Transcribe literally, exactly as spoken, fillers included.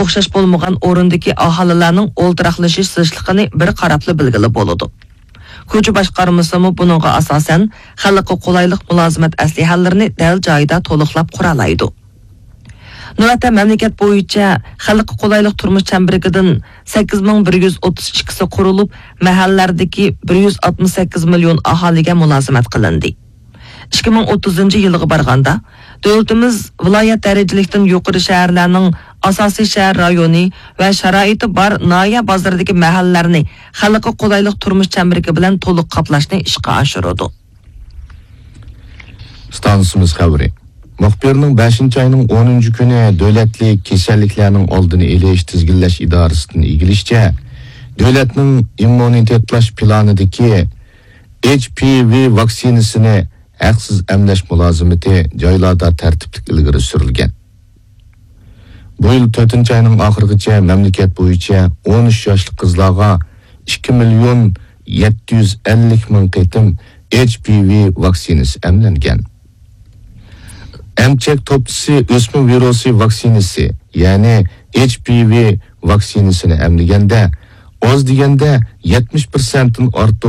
ئوخشاش بولمىغان ئورۇندىكى ئاھالىلەرنىڭ ئولتۇراقلىشىش زىچلىقىنى بىر قاراپلا بىلگىلى بولىدۇ. كوچا باشقارمىسىمۇ بۇنىڭغا ئاساسەن، خەلققە قولايلىق مۇلازىمەت ئەسلىھەلىرىنى دەل جايىدا تولۇقلاپ قۇرالايدۇ. نۆۋەتتە مەملىكەت بويىچە خەلققە قولايلىق تۇرمۇش چەمبىرىكىدىن سەككىز مىڭ بىر يۈز ئوتتۇز ئىككىسى قۇرۇلۇپ، مەھەللىلەردىكى بىر يۈز ئاتمىش سەككىز مىليون ئاھالىگە مۇلازىمەت قىلىندى. ئىككى مىڭ ئوتتۇزىنچى يىلغا بارغاندا، دۆلىتىمىز ۋىلايەت دەرىجىلىكتىن يۇقىرى شەھەرلەرنىڭ ئاساسىي شەھەر رايونى ۋە شارائىتى بار ناھىيە بازىرىدىكى مەھەللىلەرنى خەلققە قولايلىق تۇرمۇش چەمبىرىكى بىلەن تولۇق قاپلاشنى ئىشقا ئاشۇرىدۇ. ئىستانسىمىز خەۋىرى. مۇخبىرنىڭ بەشىنچى ئاينىڭ ئونىنچى كۈنى دۆلەتلىك كېسەللىكلەرنىڭ ئالدىنى ئېلىش تىزگىنلەش ئىدارىسىدىن ئىگىلىشىچە، دۆلەتنىڭ ئىممۇنىتېتلاش پىلانىدىكى ئېچ پى ۋى ۋاكسىنىسىنى ھەقسىز ئەملەش مۇلازىمىتى جايلاردا تەرتىپلىك ئىلگىرى سۈرۈلگەن. بۇ يىل تۆتىنچى ئاينىڭ ئاخىرىغىچە مەملىكەت بويىچە ئون ئۈچ ياشلىق قىزلارغا ئىككى مىليون يەتتە يۈز ئەللىك مىڭ قېتىم ئېچ پى ۋى ۋاكسىنىسى ئەملەنگەن. ئەمچەك توپچىسى ئۆسمە ۋىرۇسى ۋاكسىنىسى، يەنى ئېچ پى ۋى ۋاكسىنىسىنى ئەملىگەندە، ئاز دېگەندە يەتمىش پىرسەنتتىن ئارتۇق